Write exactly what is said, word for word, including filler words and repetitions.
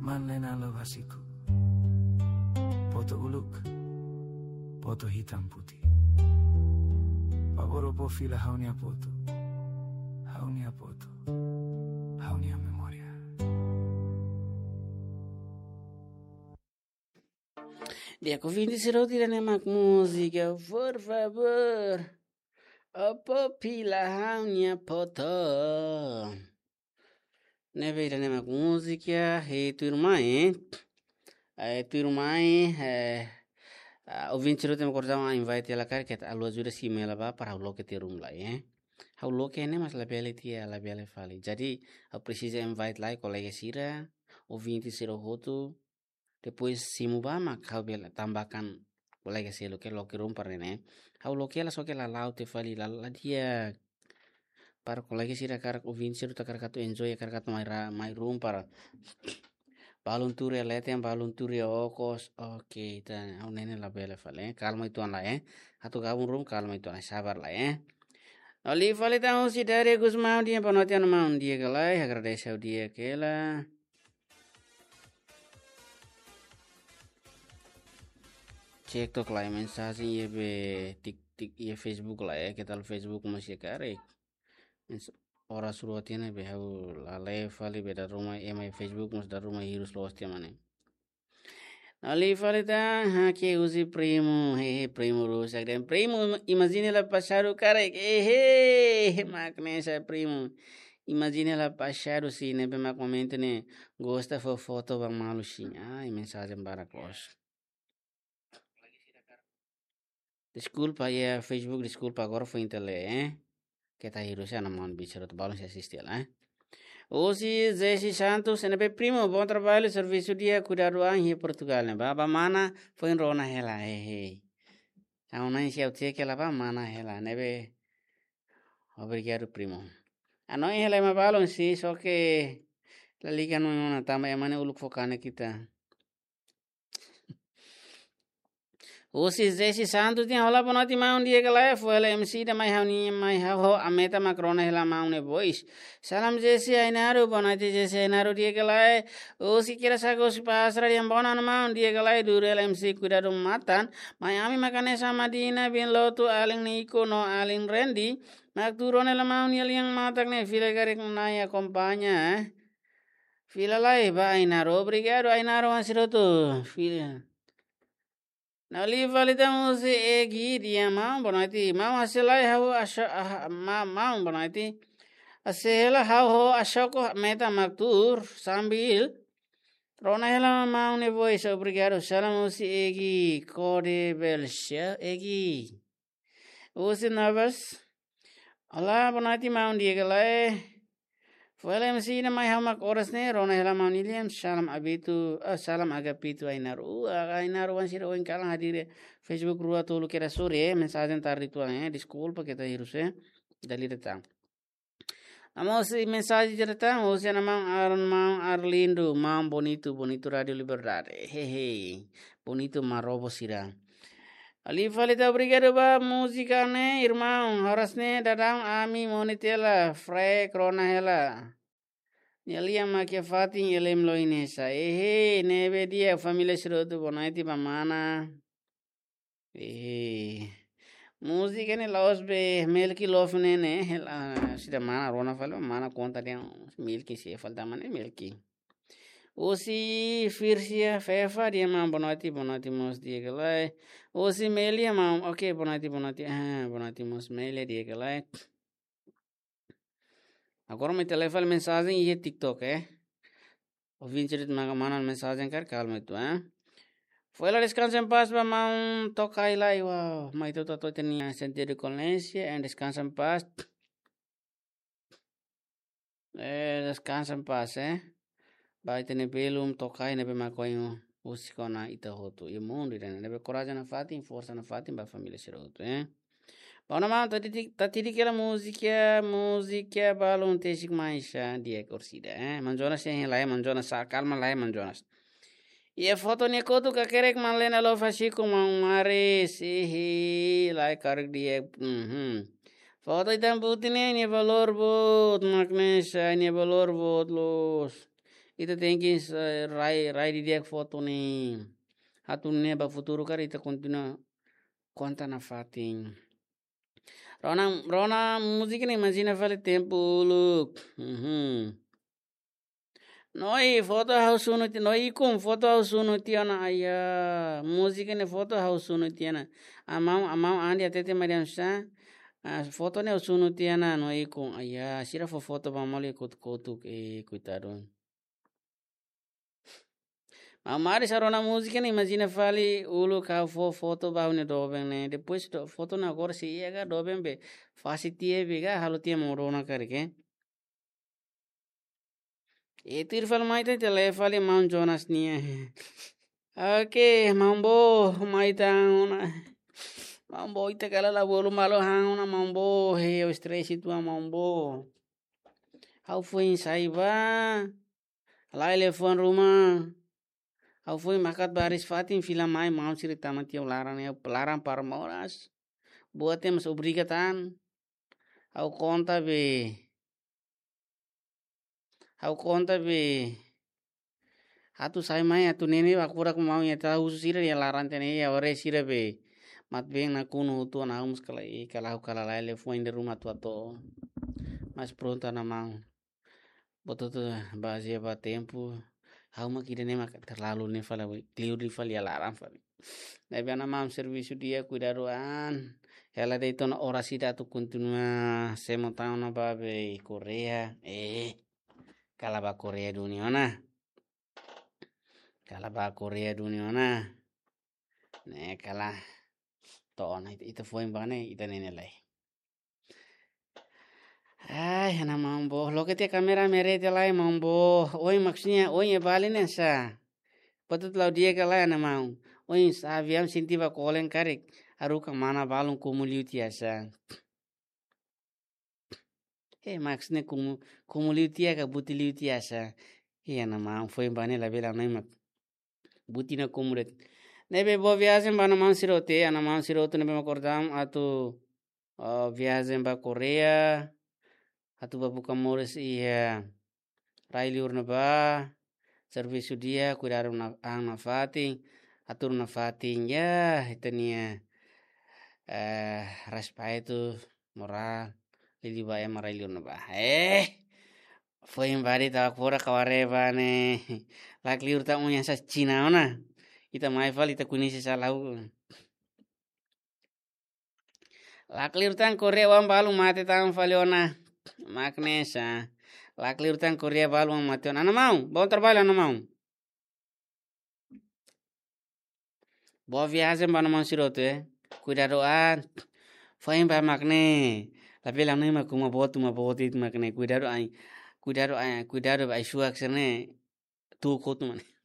Manlena Love Hasiku. Foto uluk, foto hitam putih. Favór fó fila ha'u-nia foto, ha'u-nia foto, ha'u-nia memória. Di'ak, ouvinte sira hotu, ida-ne'e mak múzika, por favór, fó fila ha'u-nia foto. Ne'ebé ida-ne'e mak múzika, eh, tuirmai, eh, tuirmai, eh, ah, ouvinte sira hotu mak kordau, ah, invite hela karik, keta haluha ajuda simu hela ba, para ha'u loke tiha ruma lai, eh. Ha'u loke ne'e mas labele tiha, labele fali. Jadi, ha'u presiza invite lai kolega sira, ouvinte sira hotu, depois simu ba mak ha'u bele tambahkan kolega seluk ke loke ruma para ne'e. Ha'u loke hela só ke la la'o tiha fali, la, la di'ak. Para kolega sira hakarak, ouvinte sira hakarak atu enjoy, hakarak atu mai ra-, mai ruma para balun tuur iha leten, balun tuur iha okos. Oke, ita, ha'u ne'e ne'e labele fali, eh. Kalma uitoan lai, eh. Atu gabung ruma, kalma uitoan lai, sabar lai, eh. Liu fali tan husi Daria Gusmão, di'ak, boa noite, maun, di'ak ka lae, agradese ha'u di'ak hela. Cek took lai mensajen iha be tik, tik, iha Facebook lai, eh, keta haluha Facebook mós iha karik. Mens-, oras rua tiha ne'ebé ha'u la lee fali be dala ruma ema iha Facebook mós dala ruma hirus loos tiha mak ne'e. Liu fali tan, hakat husi primu, hehe, primu rusak de'it. Primu, imajina hela pasadu karik, hehe, mak ne'e sa primu. Imajina hela pasadu sira ne'ebé mak momentu ne'e gosta fó foto ba malu sira. Ai, mensajen barak loos. Deskulpa, iha Facebook, deskulpa, agora foin ita lee, eh. Keta hirus, ana maun bicara tu balun sei asiste hela, eh. Husi Jesse Santos, ne'ebé primu, bom trabalho, servisu di'ak, kuidadu an iha Portugal ne'e. Ba, ba mana, foin rona hela, hehe. Ha'u-nia, se ha'u cek hela ba mana hela, ne'ebé. Obrigadu, primu. Hanoin hela ema balun sira, só ke la liga no ona, tanba ema ne'e uluk fó kanek ita. Husi Jesse Santos dehan: "Olá, boa noite, maun, di'ak ka lae? Fó hela M C ida mai ha'u-nia, mai ha'u ho aumenta mak rona hela maun nia voz." Salam Jesse Ainaro, boa noite Jesse Ainaro, di'ak ka lae? Husi Kira Sago, husi Pasra dehan: "Bonan maun, di'ak ka lae? Dudu hela M C kuidadu matan. Mai ami mak hanesan Madina bin Lotu, alin Niko no alin Rendi. Mak tuur rona hela maun nia lian matak ne'e, fila karik Nai akompaña, eh." Fila lai ba Ainaro, obrigadu Ainaro, oan sira hotu. Fila. Liu fali tan husi Egi dehan: "Maun, boa noite. Maun, hase'e lai ha'u axa-, ah, ma-, maun, boa noite. Hase'e hela ha'u ho Axoko aumenta mak tuur sambil rona hela maun nia voz, obrigadu." Salam husi Egi, kode belsia Egi. Husi Navas. "Olá, boa noite, maun, di'ak ka lae? Fó hela M C ida mai ha'u mak oras ne'e rona hela maun nia lian, salam Abitu, ah, salam Agapito Ainaro." Uh, Ainaro, oan sira ohin kalan hadir iha Facebook rua tolu kera sore, eh, mensajen tarde uitoan, eh, deskulpa keta hirus, eh. Dala ida tan. Ami husi mensajen diretu, husi ana maun Aaron, maun Arlindo, maun bonitu, bonitu Rádio Liberdade. Hehe, bonitu marobo sira. Liu fali tan, obrigadu ba múzika ne'e, irmaun. Oras ne'e daudaun ami monu tiha hela, freq rona hela. Nia lian mak iha fatin Elem Loinesa. Hehe, ne'ebé di'ak, família sira hotu, boa noite ba mana. Eh, múzika ne'e la'ós be Melki Love ne'e, ne'e, hela, sida mana rona fali, mana konta dehan Melki, se fali tan mak ne'e Melki. Husi Firsia Fefa dehan: "Maun, boa noite, boa noite mós, di'ak ka lae?" Husi Melia, maun, oke, boa noite, boa noite, ah, boa noite mós Melia, di'ak ka lae? Agora mai ita lee fali mensajen iha TikTok, eh. Ouvinte sira hotu mak manda mensajen karik, kalma uitoan, eh. Fó hela descansa em paz ba maun Tokai lai, uau. Mai ita hotu atu ita-nia sentidu de kondolénsia, and descansa em paz. Eh, descansa em paz, eh. Ba ita-nia belun Tokai ne'ebé mak ohin husik ona ita hotu iha mundu ida-ne'e. Ne'ebé korajen nafatin, forsa nafatin ba família sira hotu, eh. Ba ona maun, tadi ti-, tadi hela múzika, múzika balun tesik mai sa di'ak orsida, eh. Maun Jonas, eh, lai, Maun Jonas, sa kalma lai, Maun Jonas. Iha foto nia kotuk kakerek Manlena Love Hasiku, maun Maris, ihi, lai karik di'ak, mhm. Foto hitam putih ne'e nia valór boot, mak ne'e sa nia valór boot loos. Ita tenke, eh, rai, rai didi'ak foto ne'e. Atu nune'e ba futuru karik ita kontinua konta nafatin. Rona, rona múzika ne'e imajina fali tempu uluk. Mhm. Noi, foto ha'u sunu tiha, noi ikun, foto ha'u sunu tiha ona, aya. Múzika ne'e foto ha'u sunu tiha ona. Amau, amau andi atete mariam sa. Ah, foto ne'e ha'u sunu tiha ona, noi ikun, aya. Sira fó foto ba malu kotuk-kotuk, eh, koitadu. Maun Mari sa rona múzika ne'e, imajina fali uluk ha'u fó foto ba ha'u-nia doben ne'e. Depois do, foto ne'e agora sei iha ka doben be fase tiha be ka halo tiha maun rona karik, eh. E tuir fali mai ita, ita lee fali maun Jonas nian. Oke, maun Bo, mai ita ona. Maun Bo, ita kala la bolu malu han ona, maun Bo. He, o stress itu, maun Bo. Ha'u foin sai ba. Lai liafuan ruma. Ha'u foin hakat baris fatin fila mai maun sira tama tiha laran ya, laran para moras. Buat temos obriga tan. Ha'u konta be. Ha'u konta be. Atu sai mai, atu nene ba kura ku maun ya ta husu sira ya laran tiha ne'e ya ore sira be. Mat been nakonu hotu ona ha'u mós kala i kala ha'u kala lai liafuan de ruma atu atu. Mas prontu ona maun. Buat hotu bazeia ba tempu. Ha'u mak ida-ne'e mak terlalu ne'e fali, liu ne'e fali ya laran fali. Ne'ebé ona maun servisu di'ak kuidadu an. Hela de'it ona oras ida atu kontinua semo tan ona ba be Korea. Eh, kala ba Korea duni ona. Kala ba Korea duni ona. Ne'e kala. To'o ona ita, ita foin ba ne'e, ita nene lai. Ai, ana maun Bo. Loke tiha kamera merete lai maun Bo. Oin maksudnya, oin e bali ne'e sa. Patut lau dia ka lai ana maun. Oin sa aviaun sente ba kolen karik. Haruka mana balun komu liu tiha sa. Eh, maksudnya komu, komu liu tiha ka buti liu tiha sa. Iya, ana maun foin ba ne'e labele ana mak. Buti na komu de'it. Ne'ebé boa viajen ba ana maun sira hotu, ana maun sira hotu ne'ebé mak kordam atu, eh, viajen ba Korea. Atu ba buka moris iha rai liur ne'ebá. Servisu di'ak, kuidadu na, an nafatin, atu nafatin ya, ita-nia, eh, respeitu, moral, liuliu ba ema rai liur ne'ebá. Eh, foin ba de'it tawak fora kawareba ne'e. Lakleur tan uña sa Cina ona. Ita mai fali ita kunisi sa lau. Lakleur tan Korea oan balun mate tan fali ona. Mak ne'e sa. Lakleur tan Korea balun oan mate ona. Ana maun, bom trabalho ana maun. Boa viajen ba ana maun sira hotu, eh. Kuidadu an. Foin ba mak ne'e. Labele ana mak uma botu, uma botu mak ne'e. Kuidadu an. Kuidadu an, kuidadu ba ai-suak sira ne'e. Tu kotu mak ne'e.